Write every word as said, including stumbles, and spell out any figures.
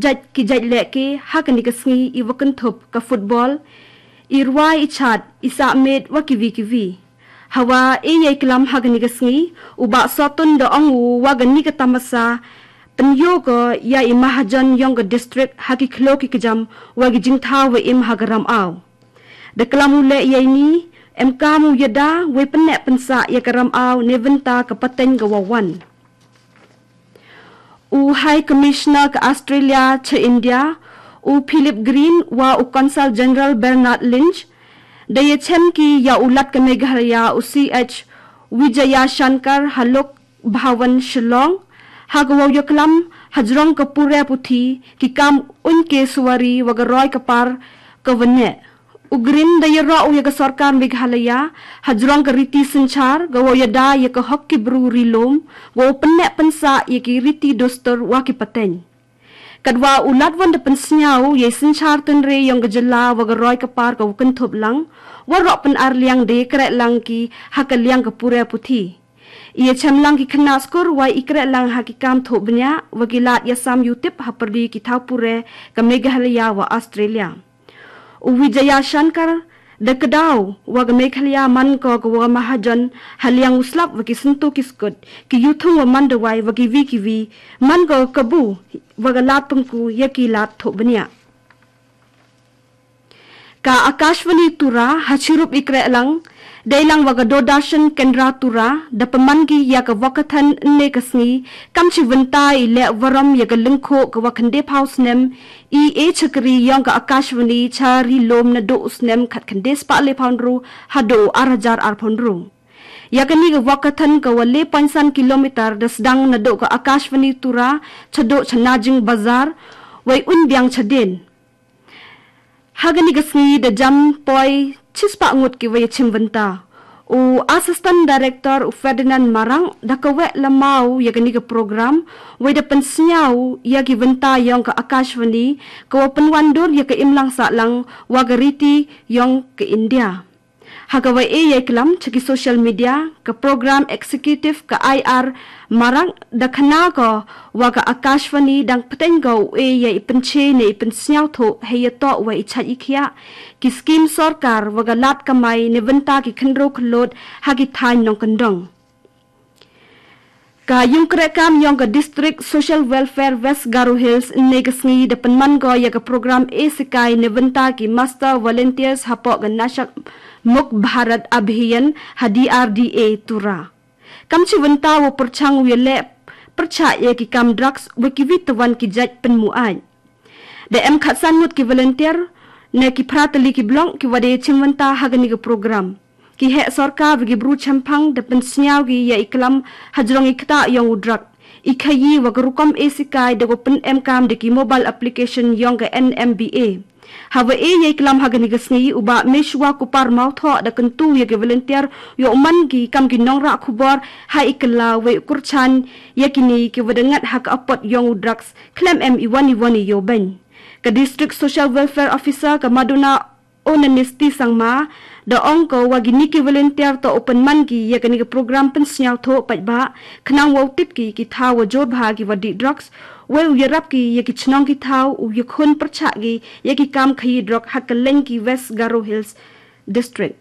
jait ki jait leh ke ha kani ka sngi i wa kynthup ka football, i rwai i chat, i sah met wa kiwi kiwi. Hawa e yei klam ha kani ka sngi, u Bah Sotun da ong u wa kani ka tamasa, pynyoh ko ya i mahajon yong ka district ha ki khlok ki kjam wa ki jingthaw wa im ha ka ram aw. Da klam u leh yei ni, em kam u yada, wei pynneh pynsah ya ka ram aw, ne bynta ka pateng ka wa wan. U High Commissioner ka Australia cha India, u Philip Green wa u Consul General Bernard Lynch, da ya chem ki ya u Lat ka Meghalaya u C H Vijaya Shankar ha Lok Bhavan Shillong, ha ka wa u ya klam hajrong ka pure puthi ki kam un ke suwari wa ka roi ka par ka wa neh. U Green da ya ro u ya ka sorkar Meghalaya, hajrong ka riti synchar, ka wa u yada ya ka hok ki bru ri lum, wa u pynneh pynsah ya ki riti dustur wa ki pateng. Katwa u Lat wan da pynsnyaw u ya i synchar tynre yong ka jylla wa ka roi ka par ka wa kynthup lang, wa ro pyn ar liang da ya kreh lang ki ha ka liang ka pure puthi. I ya chem lang ki khynnah skur wa i kreh lang ha ki kam thoh bniah, wa ki lad ya sam yutip ha pyrdi ki thaw pure ka Meghalaya wa Australia. U Vijaya Shankar da ka daw wa ka Meghalaya man ko ka wa mahajon ha liang u slap wa ki syntu ki skut, ki yuthung wa man da wai wa kiwi kiwi, man ko ka bu wa ka lad pynku ya ki lad thoh bniah. Ka Akashvani Tura ha chirup i kreh lang, dei lang wa ka Doordarshan Kendra Tura, da pynman ki ya ka wa ka than ne ka sngi, kam chi bynta i leh warom ya ka lyngkhuh ka wa khyndai phaw snem, i e chakri yong ka Akashvani cha ri lum na do u snem khat khyndai spah le phaw ynru ha do u ar hajar ar phaw ynru. Ya kani ka wa ka than ka wa le point san kilometer da sdang na do ka Akashvani Tura, cha do cha Najing Bazar, wei un biang cha den. Ha kani ka sngi da jam poi chispah ngut ki wa ya chim bynta. U Assistant Director u Ferdinand Marang da ka weh lama u ya kani ka program, wei da pynsnyaw u ya ki bynta yong ka Akashvani, ka wa pynwan dur ya ka imlang sahlang wa ka riti yong ka India. Ha ka wa e yei klam cha ki social media, ka program executive ka I R Marang da khana ko wa ka Akashvani dang pteng ko u e ya i pynche ne i pynsnyaw thoh hei ya toh wa i chait i khiah, ki scheme sorkar wa ka lad kamai ne bynta ki khynro khlot ha ki thain nongkyndong. Ka yung kreh kam yong ka District Social Welfare West Garo Hills ne ka sngi da pynman ko ya ka program e sikai ne bynta ki Master Volunteers hapoh ka Nasha Mukt Bharat Abhiyan ha D R D A Tura. Kam chi bynta wa pyrchang u ya leh pyrchah ya ki kam drugs wa kiwi tawan ki jait pynmu ait. Da em khat san ngut ki volunteer, ne ki phra tylli ki block ki wa da ya chim bynta ha kani ka program. Ki heh sorkar wa ki bru chemphang da pynsnyaw ki ya i klam hajrong i ktah yong u drug. I khayi wa ka rukom e sikai da ko pyn em kam da ki mobile application yong ka N M B A. Ha wa e yei klam ha kani ka sngi u Bah Meshwa Kupar Mawthoh da kyntu ya ki volunteer yoh man ki kam ki nongrah khubor ha i kylla wei u kyrchan ya kini ki wa da ngat ha ka apot yong u drugs khlem em i wan i wan i yoh beiñ. Ka District Social Welfare Officer ka Maduna Onanisti Sangma da ong ko wa kini ki volunteer toh u pynman ki ya kani ka program pynsnyaw thoh paidbah, khnang wa u tip ki ki thaw wa jor bha ki wa dih drugs, wei u yarap ki ya ki chnong ki thaw, u yakhun pyrchah ki ya ki kam khayi drug ha ka leng ki West Garo Hills District.